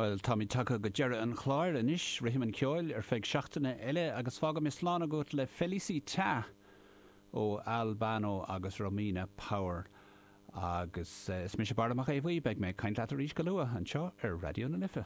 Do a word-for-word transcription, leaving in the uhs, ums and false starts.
Well táimid tagtha go deireadh an chláir anois rithim an cheoil ar feadh seachtaine eile agus fágaim slán agat le Felicità ó Al Bano agus Romina Power. Agus eh, is mise Barra Mac Aodha Bhuí beidh mé ag caint leat arís go luath anseo ar Raidió na Life.